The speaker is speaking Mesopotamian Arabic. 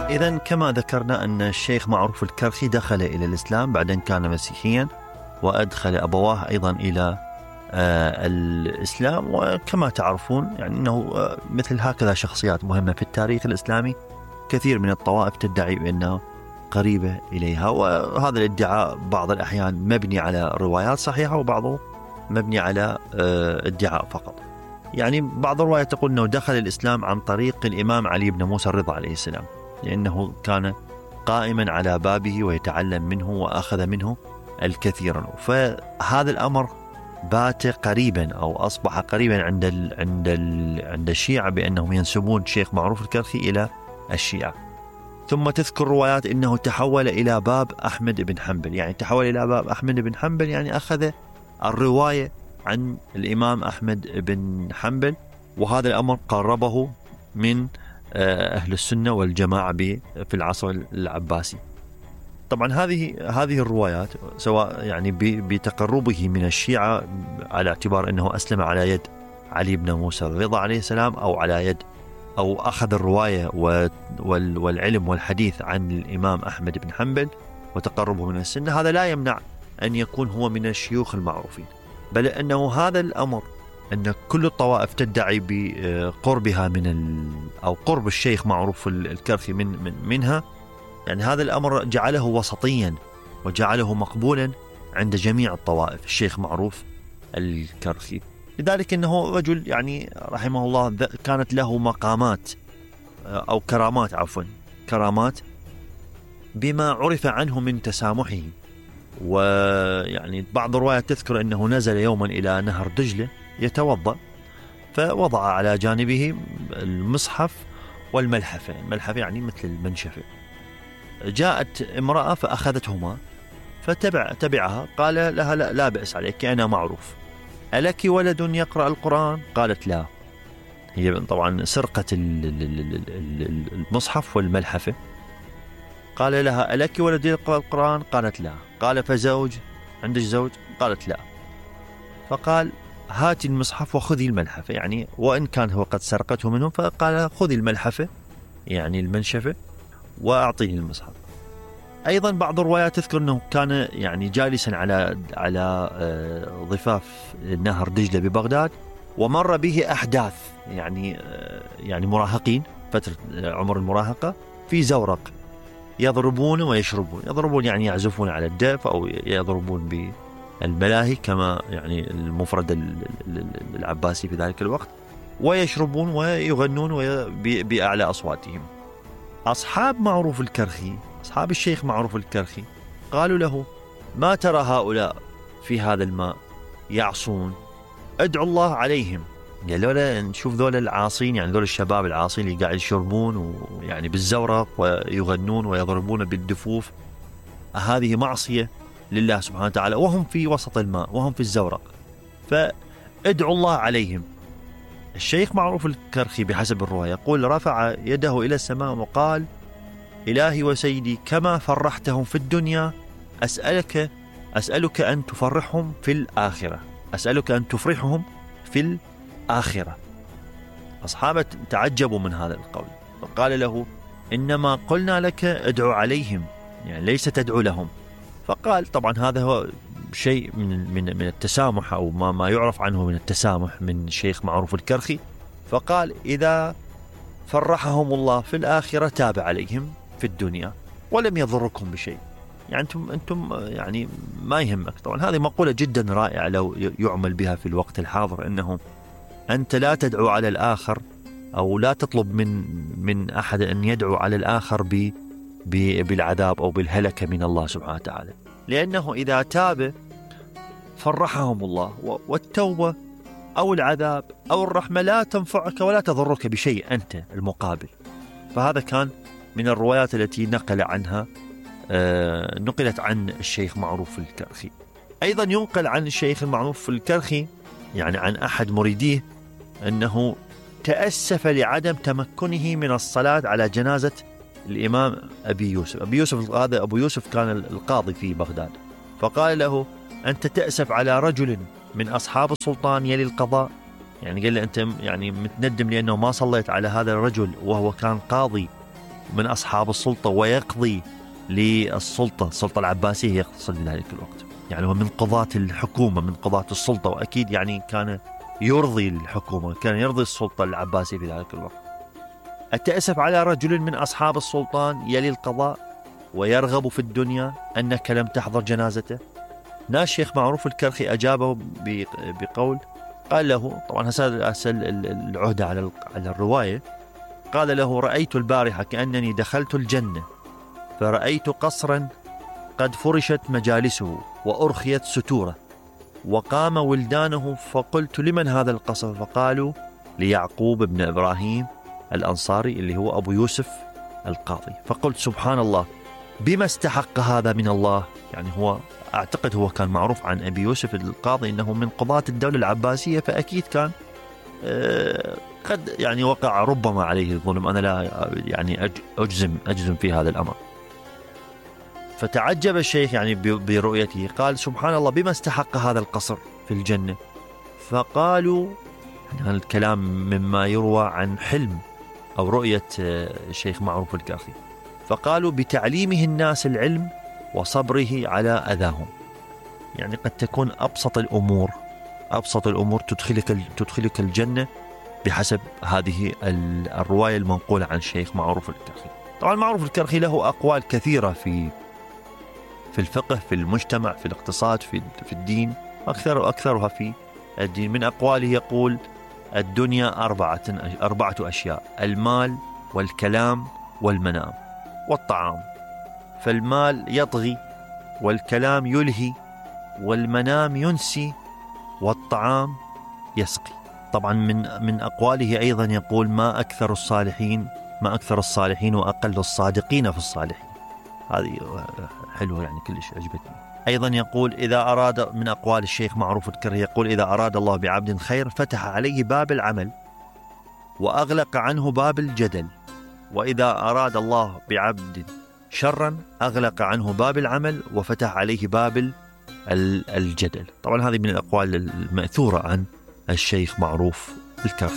إذن كما ذكرنا أن الشيخ معروف الكرخي دخل إلى الإسلام بعدين كان مسيحيا، وأدخل أبواه أيضا إلى الإسلام. وكما تعرفون يعني أنه مثل هكذا شخصيات مهمة في التاريخ الإسلامي كثير من الطوائف تدعي بأنها قريبة إليها، وهذا الادعاء بعض الأحيان مبني على روايات صحيحة وبعضه مبني على ادعاء فقط. يعني بعض الروايات تقول أنه دخل الإسلام عن طريق الإمام علي بن موسى الرضا عليه السلام، لأنه كان قائما على بابه ويتعلم منه وأخذ منه الكثير. فهذا الأمر بات قريبا أو أصبح قريبا عند الشيعة بأنهم ينسبون الشيخ معروف الكرخي إلى الشيعة. ثم تذكر روايات أنه تحول إلى باب أحمد بن حنبل، يعني تحول إلى باب أحمد بن حنبل يعني أخذ الرواية عن الإمام أحمد بن حنبل، وهذا الأمر قربه من أهل السنة والجماعة في العصر العباسي. طبعا هذه الروايات سواء يعني بتقربه من الشيعة على اعتبار أنه أسلم على يد علي بن موسى الرضا عليه السلام، أو على يد أو أخذ الرواية والعلم والحديث عن الإمام أحمد بن حنبل وتقربه من السنة، هذا لا يمنع أن يكون هو من الشيوخ المعروفين، بل أنه هذا الأمر أن كل الطوائف تدعي بقربها أو قرب الشيخ معروف الكرخي منها، يعني هذا الأمر جعله وسطيا وجعله مقبولا عند جميع الطوائف الشيخ معروف الكرخي. لذلك أنه رجل يعني رحمه الله كانت له مقامات أو كرامات بما عرف عنه من تسامحه. ويعني بعض الروايات تذكر أنه نزل يوما إلى نهر دجلة يتوضأ، فوضع على جانبه المصحف والملحفة، الملحفة يعني مثل المنشفة. جاءت امرأة فأخذتهما فتبعها، قال لها لا بأس عليك أنا معروف، ألك ولد يقرأ القرآن؟ قالت لا. هي طبعا سرقة المصحف والملحفة. قال لها ألك ولد يقرأ القرآن؟ قالت لا. قال فزوج؟ عندك زوج؟ قالت لا. فقال هاتي المصحف وخذي الملحفة، يعني وإن كان هو قد سرقته منهم، فقال خذي الملحفة يعني المنشفة وأعطيني المصحف. أيضا بعض الروايات تذكر أنه كان يعني جالسا على ضفاف نهر دجلة ببغداد، ومر به أحداث يعني مراهقين فترة عمر المراهقة في زورق يضربون ويشربون. يضربون يعني يعزفون على الدف أو يضربون بالملاهي كما يعني المفرد العباسي في ذلك الوقت، ويشربون ويغنون بأعلى أصواتهم. أصحاب معروف الكرخي، أصحاب الشيخ معروف الكرخي، قالوا له ما ترى هؤلاء في هذا الماء يعصون، ادعو الله عليهم. يعني لولا نشوف ذول العاصين، يعني ذول الشباب العاصين اللي قاعد يشربون ويعني بالزورق ويغنون ويضربون بالدفوف، هذه معصية لله سبحانه وتعالى وهم في وسط الماء وهم في الزورق، فادعو الله عليهم. الشيخ معروف الكرخي بحسب الرواية يقول رفع يده إلى السماء وقال إلهي وسيدي كما فرحتهم في الدنيا أسألك أن تفرحهم في الآخرة، أسألك أن تفرحهم في الآخرة. أصحابه تعجبوا من هذا القول، فقال له إنما قلنا لك ادعو عليهم، يعني ليس تدعو لهم. فقال طبعا هذا هو شيء من التسامح أو ما يعرف عنه من التسامح من الشيخ معروف الكرخي. فقال إذا فرحهم الله في الآخرة تاب عليهم في الدنيا ولم يضركم بشيء، يعني أنتم يعني ما يهمك. طبعا هذه مقولة جدا رائعة لو يعمل بها في الوقت الحاضر، أنه أنت لا تدعو على الآخر أو لا تطلب من أحد أن يدعو على الآخر بالعذاب أو بالهلكة من الله سبحانه وتعالى، لأنه إذا تاب فرحهم الله، والتوبة أو العذاب أو الرحمة لا تنفعك ولا تضرك بشيء أنت المقابل. فهذا كان من الروايات التي نقلت عن الشيخ معروف الكرخي. أيضا ينقل عن الشيخ المعروف الكرخي يعني عن أحد مريديه أنه تأسف لعدم تمكنه من الصلاة على جنازة الإمام أبي يوسف. هذا أبو يوسف كان القاضي في بغداد، فقال له أنت تأسف على رجل من أصحاب السلطان يلي القضاء، يعني قال له أنت يعني متندم لأنه ما صليت على هذا الرجل وهو كان قاضي من أصحاب السلطة ويقضي للسلطة، السلطة العباسية يقصد ذلك الوقت، يعني هو من قضاة الحكومة، من قضاة السلطة، وأكيد يعني كان يرضي الحكومة، كان يرضي السلطة العباسية في ذلك الوقت. أتأسف على رجل من أصحاب السلطان يلي القضاء ويرغب في الدنيا أنك لم تحضر جنازته. ناس الشيخ معروف الكرخي أجابه بقول، قال له، طبعا هسأل العهدة على الرواية، قال له: رأيت البارحة كأنني دخلت الجنة، فرأيت قصرا قد فرشت مجالسه وأرخيت ستوره، وقام ولدانه، فقلت: لمن هذا القصر؟ فقالوا: ليعقوب بن إبراهيم الأنصاري اللي هو أبو يوسف القاضي. فقلت: سبحان الله، بما استحق هذا من الله؟ يعني هو أعتقد هو كان معروف عن أبي يوسف القاضي أنه من قضاة الدولة العباسية، فأكيد كان قد يعني وقع ربما عليه الظلم، أنا لا يعني أجزم في هذا الأمر. فتعجب الشيخ يعني برؤيته، قال: سبحان الله، بما استحق هذا القصر في الجنة؟ فقالوا، يعني الكلام مما يروى عن حلم أو رؤية الشيخ معروف الكرخي، فقالوا: بتعليمه الناس العلم وصبره على أذاهم. يعني قد تكون أبسط الأمور تدخلك الجنة بحسب هذه الرواية المنقولة عن الشيخ معروف الكرخي. طبعا معروف الكرخي له أقوال كثيرة في الفقه، في المجتمع، في الاقتصاد، في الدين، أكثرها في الدين. من أقواله يقول: الدنيا أربعة أشياء: المال والكلام والمنام والطعام. فالمال يطغي، والكلام يلهي، والمنام ينسي، والطعام يسقي. طبعا من أقواله أيضا يقول: ما أكثر الصالحين وأقل الصادقين في الصالحين. هذه حلوة يعني، كلش عجبتني. أيضا يقول إذا أراد، من أقوال الشيخ معروف الكرخي، يقول: إذا أراد الله بعبد خير فتح عليه باب العمل وأغلق عنه باب الجدل، وإذا أراد الله بعبد شرا أغلق عنه باب العمل وفتح عليه باب الجدل. طبعا هذه من الأقوال المأثورة عن الشيخ معروف الكرخي.